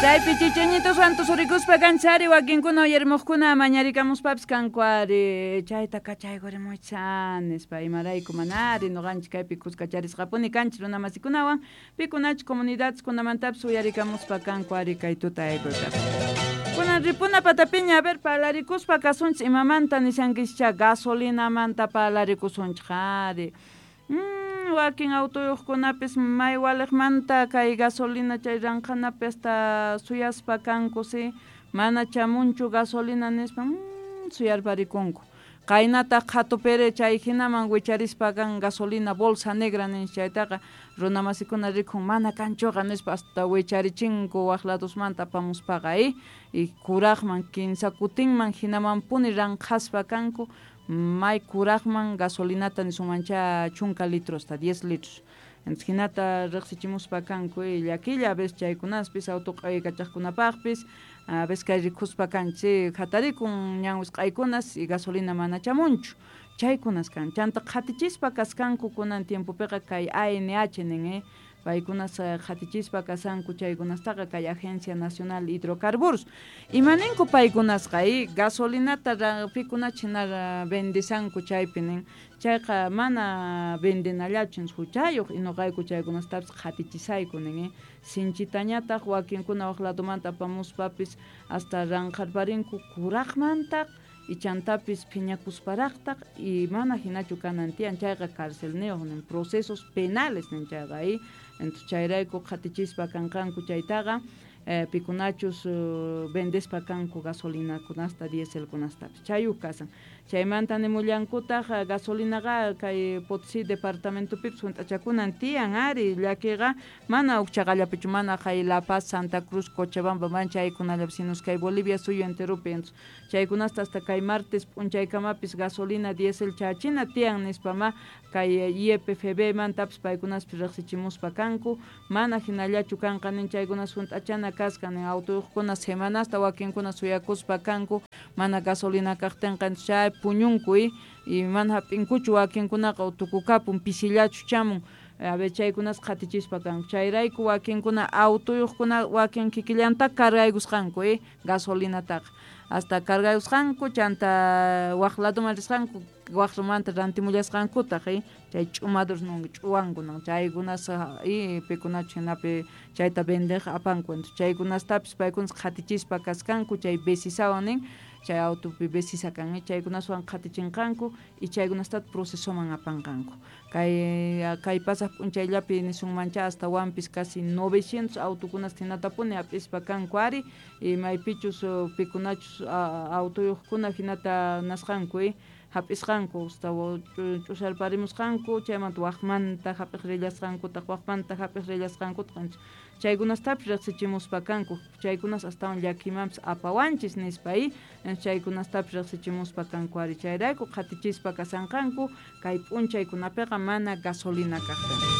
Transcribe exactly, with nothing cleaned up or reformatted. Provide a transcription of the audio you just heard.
Chaypi chichañito santo surikuspa kanchari wakinkuna uyarimuqkuna mañarikamuspapis kanku ari chayta kachaykurimuychan nispa imarayku manari nuqanchik kaypi kuskacharisqapuni kanchik runamasikunawan pikunachus comunidadeskunamantapis uyarikamuspa kanku ari kay tuta aykuykapi. Kunan ripuna patapiña a ver parlarikuspa kasunchik imamanta nishankischa gasolinamanta parlarikusunchik ari. Mm, wakin autoyuqkunapis may waliqmanta kay gasolina chay ranqhanapi hasta suyaspa kanku si mana chamunchu gasolina nispa mm, suyarparikunku qaynataq qhatupiri chay hinaman wicharispa kan gasolina bolsa negra nin chaytaqa runamasikuna rikun mana kanchuqa nispa hasta wicharichinku waq ladosmanta apamuspaqa y y kuraqman kinsa kutinman hinamanpuni ranqhaspa kanku may kuraqman gasolinata nisunmancha chunka litrosta diez litros entonces hinata riqsichimuspa kanku y llakilla a veces chaykunaspis auto q'aykachaqkunapaqpis a veces kay rikuspa kanchik hatarikun ñan wisq'aykunas y gasolina mana chamunchu chaykunas kan chanta qhatichispa kaskanku kunan tiempopiqa kay A N H nin eh paykunas qhatichispa kasanku chaykunastaqa kay Agencia Nacional de Hidrocarburos imaninku paykunasqa y gasolinata pikunach hina vendisanku chaypi nin chayqa mana vendenallachu huchayuq y nuqayku chaykunastapis qhatichisayku nin eh sinchitañataq wakinkuna waq ladomanta apamuspapis hasta ranqharparinku kuraqmantaq y chantapis phiñakusparaqtaq y mana hinachu kanan tiyan chayqa carcelniyuq nin procesos penales nin chayqa y entonces chayrayku qhatichispa kanqanku chaytaqa eh, pikunachus uh, vendespa kanku gasolinakunasta dieselkunastapis chayuq kasan chaymanta nimullankutaq gasolinaqa kay Potosí departamentopipis hunt'achakunan tiyan ari llakiqa mana ukchaqallapichu mana kay La Paz, Santa Cruz, Cochabamba man chaykunallapi sino kay Bolivia suyu enteropi entonces chaykunasta hasta kay martes p'unchaykamapis gasolina diesel chachina tiyan nispa ma kay I E P F B mantapis paykunaspis riqsichimuspa kanku mana hinallachu kanqa nin chaykunas hunt'achana kasqa nin autoyuqkuna semanasta wakinkuna suyakuspa kanku mana gasolina kaqtinqa chay puñunku y y mana hap'inkuchu wakinkunaqa tukukapun pisillachu chamun a ver chaykunas qhatichispa kanku chayrayku wakinkuna autoyuqkuna wakin kikillanta cargaykusqanku y gasolinataqa hasta cargaykusqanku chanta waq ladoman risqanku waqrumanta rantimullasqankutaq y chay ch'umadurs nun ch'uwanku nun chaykunas y pikunachu hinapi chayta vendeq apanku entonces chaykunastapis paykunas qhatichispa kaskanku chay besisawan nin chay autopi besisa kan chaykunaswan qhatichinqanku y chaykunastata procesoman apanqanku kay kay pasaq p'unchayllapi nisunmancha hasta wampis casi novecientos autokunas hinatapuni hap'ispa kanku ari y maypichus pikunachus autoyuqkuna hinata nasqanku y hap'isqanku hasta ch'usarparimusqanku chaymanta waqmanta hap'iq rillasqankutaq waqmanta hap'iq rillasqankutaq chaykunastapis riqsichimuspa kanku chaykunas astawan llakimanpis apawanchis nispa y chaykunastapis riqsichimuspa kanku ari chayrayku qhatichispa kasanqanku kay p'unchaykunapiqa mana gasolina kaqtin.